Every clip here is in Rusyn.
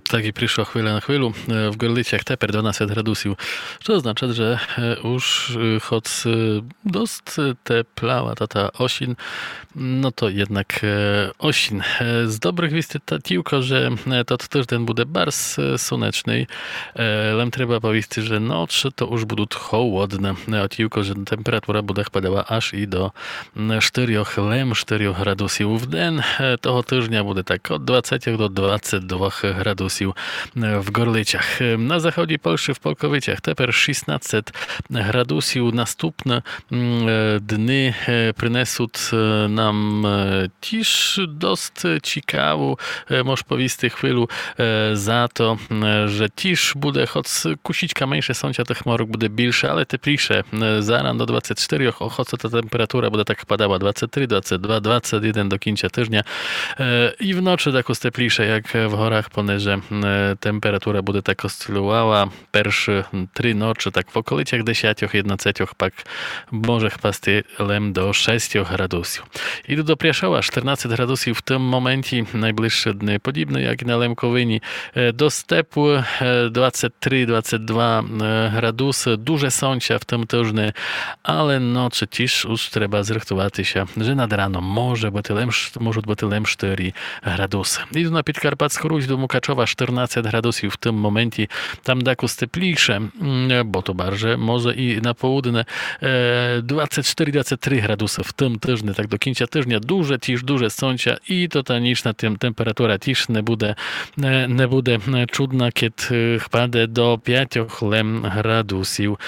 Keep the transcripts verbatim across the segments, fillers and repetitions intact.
Так і пришла хвиля на хвилю. Е, в Горлицях тепер дванадцет градусів. Што означат, же, е, уж, е, хоц, е, дост, е, теплава та, та осін, но то єднак, е, осін. Е, з добрых вістей та тілько, же, е, тот тыжден буде барз, е, сонечный. Е, лем треба повісти, же ноч то уж будут холодны. Е, о тілько, же температура буде хпадала аж і до м, штырьох, лем штырьох градусів. В ден, е, того тыжня буде так од двадцетьох до двадцет двох градусів, е, в Горлицях. Е, на заході Польщы в Полковицях тепер шістнадцет градусів. Наступны, м, е, дни, е, принесут, е, нам, е, тіж дост цікаву, е, мож повісти хвилю, е, за то, м, же тіж буде, хоц кусічка менше сонця, тых хмарок буде більше, але тепліше. Е, заран до двадцет штырьох, о, хоц та температура буде так хпадала двадцет три, двадцет два, двадцет єден до кінця тыжня. Е, і в ночы дакус тепліше, як в горах, понеже, е, температура буде так осцилювала першы три ночы, так в околицях десятьох, єднадцетьох, пак може хпасти лем до шестьох градусів. Іду до Пряшова, штырнадцет градусів в тым моменті, найближшы дни подібны, як і на Лемковині. Е, дост тепло, е, двадцет три, двадцет два, е, градусы, дуже сонця в тым тыжни, але ночы тіж уж треба зрыхтувати ся, же над раном може быти лем ш-, можут быти лем штырі градусы. Іду на Підкарпатську Русь до Мукачова, штырнадцет градусів в тым моменті, там дакус тепліше, м, бо то барже може і на поудне, е, двадцет штырі, двадцет три градусы в тым тыжни, так до кінця тыжня, дуже тіж, дуже сонця, і то та нічна тем-, температура тіж не буде, е, не буде, е, чудна, кед, е, хпаде до пятьох лем градусів.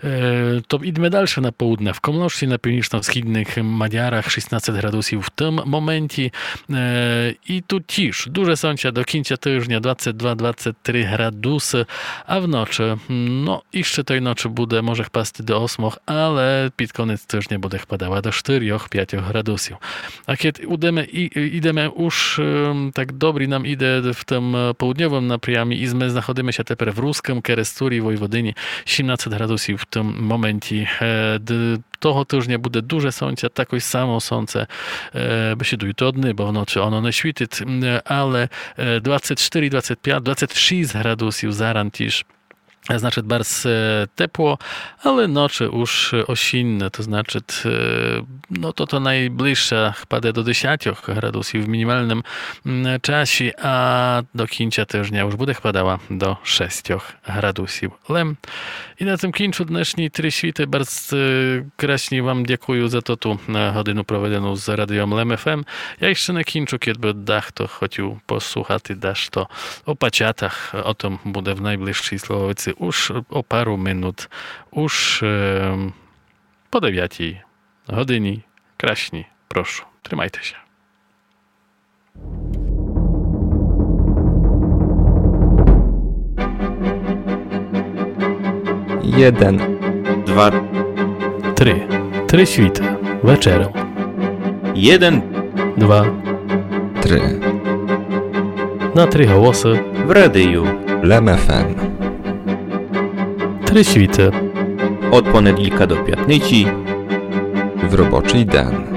Е, то ідеме дальше на поудне. В Комлошці, на північно-східных Мадярах шістнадцет градусів в тым моменті. Е, і ту тіж дуже сонця до кінця тыжня, двадцет два, двадцет три градусы, а в ночы, но, іщы той ночы буде, може хпасти до осьмох, але під конець тыжня буде хпадала до штырьох, пятьох градусів. А кед ідеме, і, ідеме уж, ем, так добрі нам іде в тым, е, поудньовым напрямі, і мы знаходиме ся тепер в Рускым Керестурі, Войводині, сімнадцет градусів в тым моменті. Е, д-, того тыжня буде дуже сонця, такой само сонце, е, бесідую, то дни, бо в ночы оно не світит, м, але, е, двадцет штырі, двадцет пять, двадцет шіст градусів заран тіж. Значыт, барз, е, тепло, але ночы уж осінне, то значыт, е, но, то, то найближша хпаде до десятьох градусів в мінімалным, м, часі, а до кінця тыжня уж буде хпадала до шестьох градусів лем. І на тым кінчу днешні Три світы. Барз, е, красні вам дякую за тоту, е, годину проведену з радіом Лем ФМ. Я іщы не кінчу, кед бы дахто хотів послухати дашто о пачатах. О тым буде в найближшій Слововици уж о пару минут, уж, е, по девятій годині. Красні, прошу, тримайте ся. Єден. Два. Три. Три світы. Вечером. Єден. Два. Три. На три голосы. В радію Лем ФМ. Три світы. Од понеділка до пятниці. В робочий ден.